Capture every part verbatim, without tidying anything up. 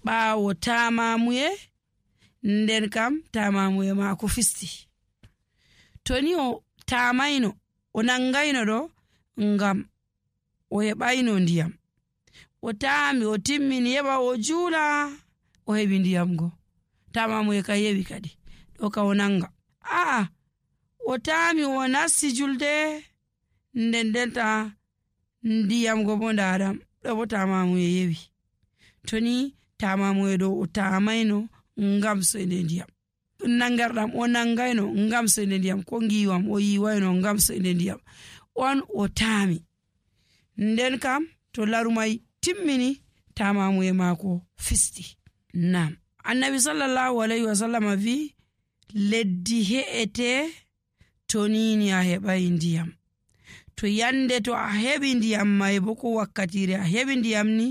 ɓaawo taamamuye nden kam taamamuye maako fisti. To ni o taamayno o nangayno ɗo ngam o heɓayno ndiyam, o taami o timmini heɓa o juula o heɓi ndiyam go, taamamuye ka yewi kadi ɗo ka o nanga. Aa o taami o nasti julde nden ndenta ndiyam go bo ndaɗam ɗo bo taamamuye yewi. To ni taamamuye ɗo o taamayno ngam soyde ndiyam, nangarɗam o nangayno ngam soyde ndiyam, ko ngiwam o yiwayno ngam soyde ndiyam, on o taami. Nden kam to larumay timmini taamamuye maako fisti. Nam annabi sallallahu alaihi wasallam vi leddi he'ete to nini a heɓay ndiyam. To yande to a heɓi ndiyam may bo ko wakkatire a heɓi ndiyam ni,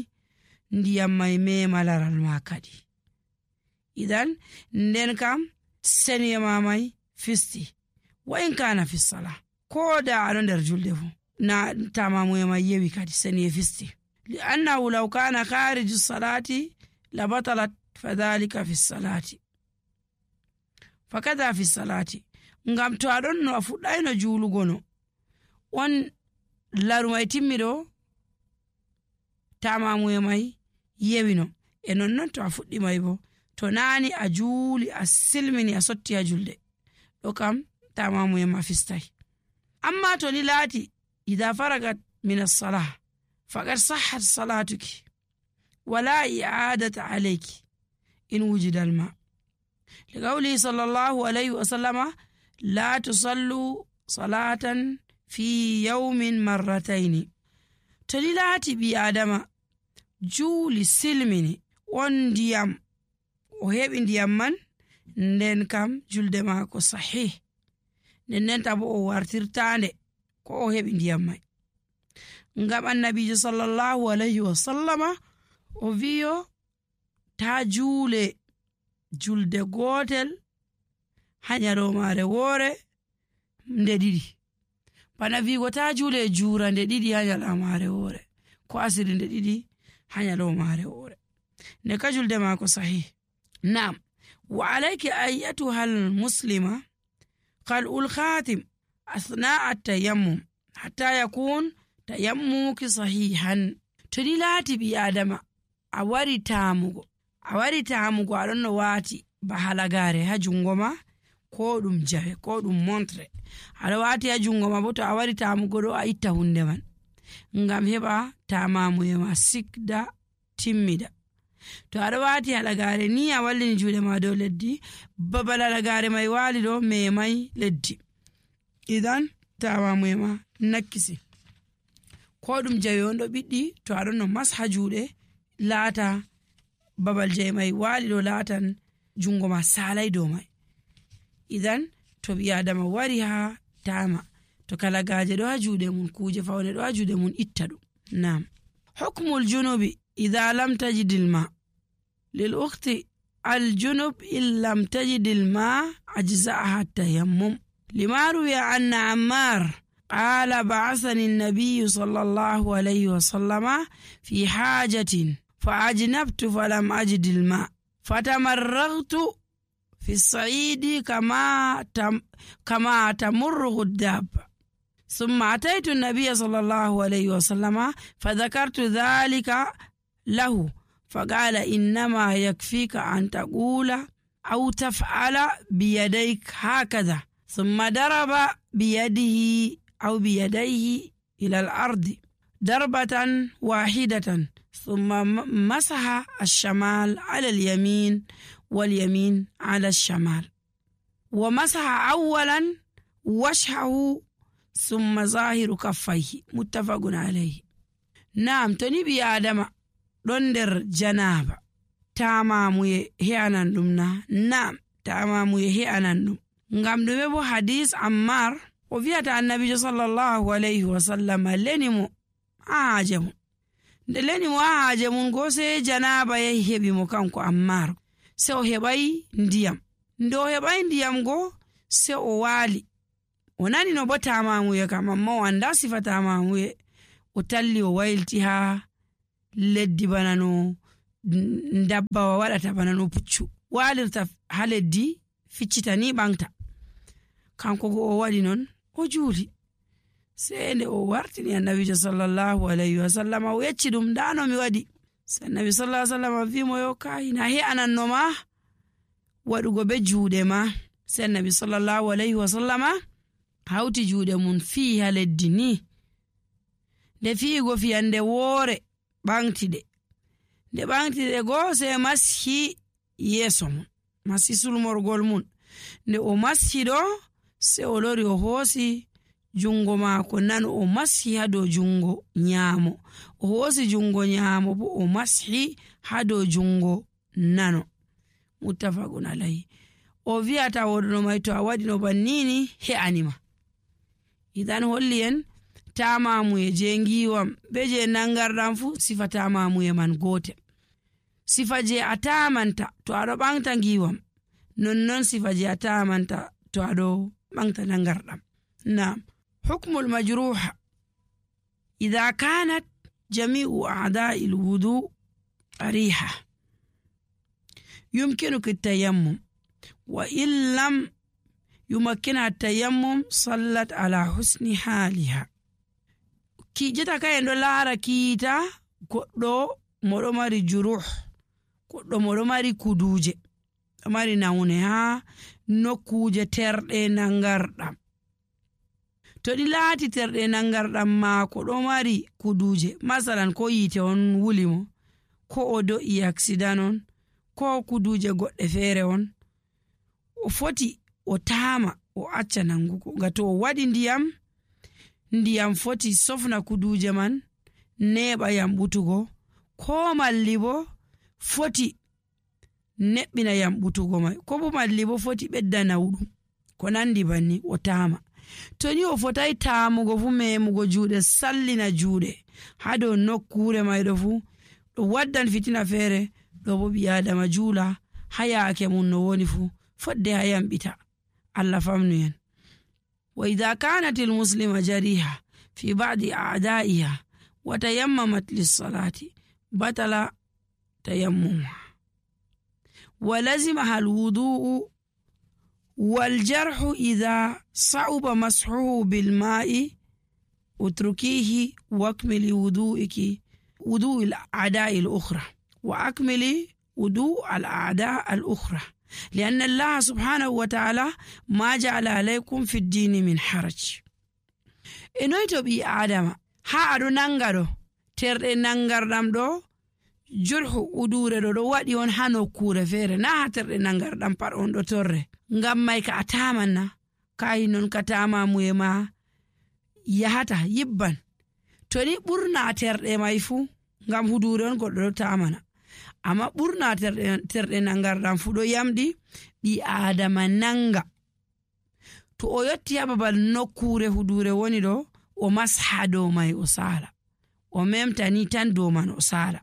ndiyam may mema laral ma kadi. Idan nden kam seniye ma may fisti wa in kana fi sala, ko da aɗo nder julde fu na taamamuye may yewi kadi seniye fisti. li annahu law kana khariju salati la batalat fadhalika fi salati fakada fi salati. Ngam to aɗon no a fuɗɗayno juulugo no on larumay timmiɗo taamamuye may yewino, e nonnon to a fuɗɗi may bo to naani a juuli a silmini a sotti ha julde ɗo kam taamamuye ma fistay. Amma to ni laati idha faragat min as-salah faqad sahhat salatuki wala i'adata alayki in wujida al-ma. liqawli sallallahu alayhi wa sallama la tusallu salatan fi yawmin marrataini. To ni laati bi adama juuli silmini on ndiyam o heɓi ndiyam man, nden kam julde maako sahih, nden ndenta bo o wartirtande ko o heɓi ndiyam may. Ngam annabijo sallallahu alayhi wa sallama o wiyo ta juule julde gotel ha nyalomare woore nde ɗiɗi, bana wigo ta juule juura nde ɗiɗi ha nyalomare woore, ko asiri nde ɗiɗi ha nyalomare woore, nde ka julde maako sahih. Naam, wa alayki ayyatuha al-muslima qal'ul khatim asna'a at-tayammum hatta yakun tayammuki sahihan. To ni laati bi adama a wari taamugo a wari taamugo aɗon no waati ba halagare ha jungo ma, ko ɗum jawe ko ɗum montre aɗa waati ha jungo ma, bo to a wari taamugo ɗo a itta hunde man ngam heɓa taamamuye ma sikda timmida. To aɗa waati halagare ni a wallini juuɗe ma dow leddi, babal halagare may waali ɗo memay leddi, idan taamamuye ma nakkisi. Ko ɗum jawe on ɗo ɓiɗɗi, to aɗon no masha juuɗe laata babal jawe may waali ɗo laatan jungo ma salay dow may. Idan to ɓi adama wari ha taama, to kalagaje ɗo ha juuɗe mun, kuje fawne ɗo ha juuɗe mun, itta ɗum. Naam, hukmul junubi idha lam tajidil ma. lil ukhti al junub in lam tajidil ma ajza'aha tayammum. lima ruwiya anna Ammar قال بعثني النبي صلى الله عليه وسلم في حاجة فأجنبت فلم أجد الماء فتمرغت في الصعيد كما تم كما تمرغ الدابة، ثم أتيت النبي صلى الله عليه وسلم فذكرت ذلك له فقال إنما يكفيك أن تقول أو تفعل بيديك هكذا، ثم ضرب بيده أو بيديه إلى الأرض ضربة واحدة، ثم مسح الشمال على اليمين واليمين على الشمال، ومسح أولا وجهه ثم ظاهر كفيه، متفق عليه. نعم، تنبي آدم دندر جنابة تامامي هي أنندمنا. نعم، تامامي هي أنندم. ngam ɗume bo hadis Ammar o wiyata annabijo sallallahu alayhi wa sallam leni mo haaje mum, nde leni mo haaje mum go sai janaba yahi heɓi mo kanko Ammar, se o heɓay ndiyam. Nde o heɓay ndiyam go se o waali, o nani no bo tamamuye kam, amma o anda sifa tamamuye, o talli o waylti ha leddi bana no dabbawa waɗata bana no puccu walirta ha leddi ficcita ni ɓangta. Kanko go o waɗi non o juuli. Sai nde o wartini annabijo sallallahu alayhi wa sallam o yecci ɗum dano mi waɗi. Sai annabi sallallahu alayhi wa sallam wi mo yo kai na he ananno ma waɗugo be juuɗe ma. Sai annabi sallallahu alayhi wa sallam hawti juuɗe mun fii ha leddi ni. Nde fiigo fiyande woore ɓangtiɗe. Nde ɓangtiɗe go sai mashi yeeso mun, masi sulmorgol mun. Nde o mashi ɗo sai o lori o hoosi jungo maako nano o mashi ha dow jungo nyaamo, o hoosi jungo nyaamo bo o mashi ha dow jungo nano. Muttafaqun alayhi. O wi'ata woɗno mai to a waɗi no bannini he'anima. Idan holli en tamamuye je ngiwam be je nangarɗam fu sifa tamamuye man gotel. Sifa je a tamanta to aɗo ɓangta ngiwam nonnon sifa je a tamanta to aɗo ɓangta nangarɗam. Naam. حكم المجروح إذا كانت جميع أعضاء الوضوء ريحة يمكنك التيمم، وإن لم يمكنها التيمم صلت على حسن حالها. كي جتا كاين لارا كيتا كودو مودو ماري جروح كودو مودو ماري كودوجي ماري ناوني ها نوكوجي ترɗe nangarɗam. To ɗi laati terɗe nangarɗam maako ɗo mari kuduje, masalan ko yite on wuli mo, ko o do'i accident on, ko kuduje goɗɗe feere on, o foti o taama o acca nangugo. Nga to o waɗi ndiyam, ndiyam foti sofna kuduje man neɓa yamɓutugo, ko malli bo foti neɓɓina yamɓutugo mai, ko bo malli bo foti ɓedda nawɗum, ko nandi banni o taama. To ni o fotai taamugo fu memugo juuɗe sallina juuɗe ha dow nokkure mayɗo fu ɗo waddan fitina feere. Ɗo bo ɓi adama juula ha yaake mum no woni fu fodde ha yamɓita. Allah famnu en. Wa idha kanat almuslima jariha fi ba'di a'da'iha wa tayammamat lis-salati batala tayammumuha wa lazimaha al-wudu'u والجرح إذا صعب مسحه بالماء اتركيه واكملي وضوءك وضوء الأعداء الأخرى وأكملي وضوء الأعداء الأخرى لأن الله سبحانه وتعالى ما جعل عليكم في الدين من حرج. إنويتو بي آدم ها أدو نانغارو ترد نانغاردام دو jurhu udure ɗo ɗo waɗi on ha nokkure feere na ha terɗe nangarɗam pat on ɗo torre. Ngam mai ka a tamanna kayi non ka tamamuye ma yahata yibban. To ni ɓurna terɗe mai fu ngam hudure on goɗɗo ɗo tamana, amma ɓurna terɗe nangarɗam fu ɗo yamɗi ɓi adama nanga. To o yotti ha babal nokkure hudure woni ɗo o masha dow mai o sala, o memta ni tan dow man o sala.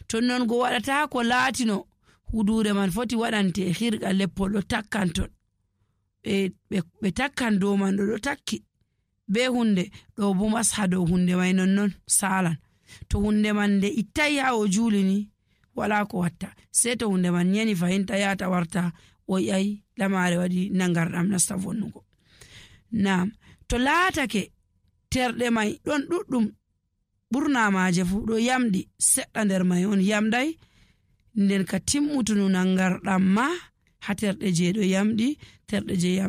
To non go waɗata ko laatino hudure man foti waɗante hirga leppol ɗo takkan ton ɓe takkan dow man ɗo ɗo takki be hunde ɗo bo masha dow hunde mai nonnon salan. To hunde man nde ittai ha o juuli ni wala ko watta, sei to hunde man yani fahinta yata warta o yayi lamare waɗi nangarɗam nasta vonnugo. Naam. To laatake terɗe mai ɗon ɗuɗɗum ɓurna maaje fu ɗo yamɗi seɗɗa nder mai on yamɗai, nden ka timmutunu nangarɗam ma ha terɗe je ɗo yamɗi terɗe je yamɗi